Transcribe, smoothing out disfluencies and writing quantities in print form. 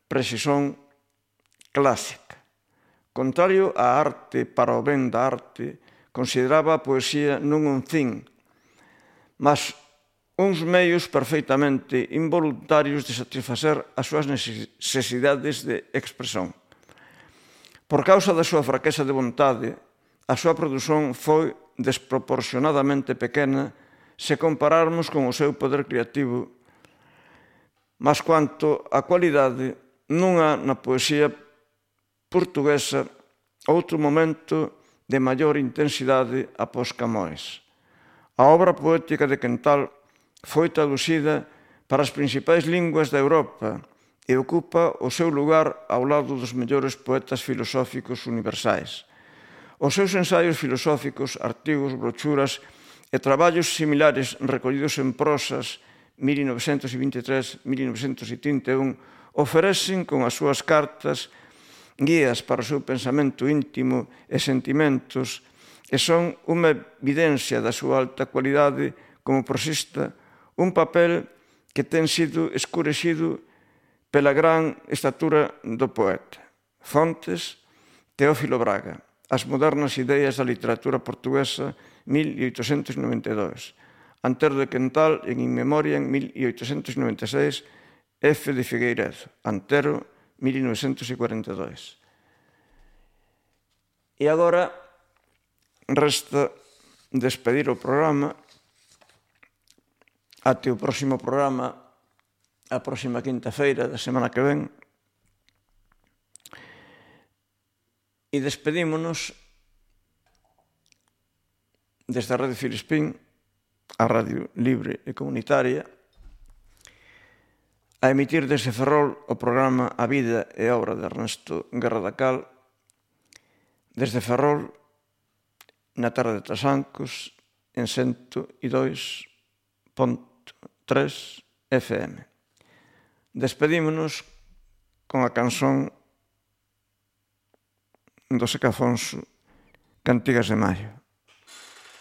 precisión clásica. Contrario á arte para o ben da arte, consideraba a poesía non un fin, mas uns meios perfeitamente involuntarios de satisfacer as súas necesidades de expresión. Por causa da súa fraqueza de vontade, a súa produción foi desproporcionadamente pequena se compararmos con o seu poder creativo, mas quanto á cualidade, non há na poesía portuguesa outro momento de maior intensidade após Camões. A obra poética de Quental foi traducida para as principais linguas da Europa e ocupa o seu lugar ao lado dos mellores poetas filosóficos universais. Os seus ensaios filosóficos, artigos, brochuras e traballos similares recollidos en prosas 1923-1931 oferecen con as súas cartas guías para o seu pensamento íntimo e sentimentos e son unha evidencia da súa alta cualidade como prosista, un papel que ten sido escurecido pela gran estatura do poeta. Fontes, Teófilo Braga. As modernas ideas da literatura portuguesa, 1892. Antero de Quental, en In Memoria, en 1896. F. de Figueiredo. Antero, 1942. E agora resta despedir o programa até o próximo programa, a próxima quinta-feira da semana que ven. E despedímonos desde a Radio Filispín, a radio libre e comunitaria, a emitir desde Ferrol o programa A vida e obra de Ernesto Guerra da Cal, desde Ferrol, na tarde de Trasancos, en 102.3 FM. Despedímonos con a canción do Seca Afonso, Cantigas de Maio.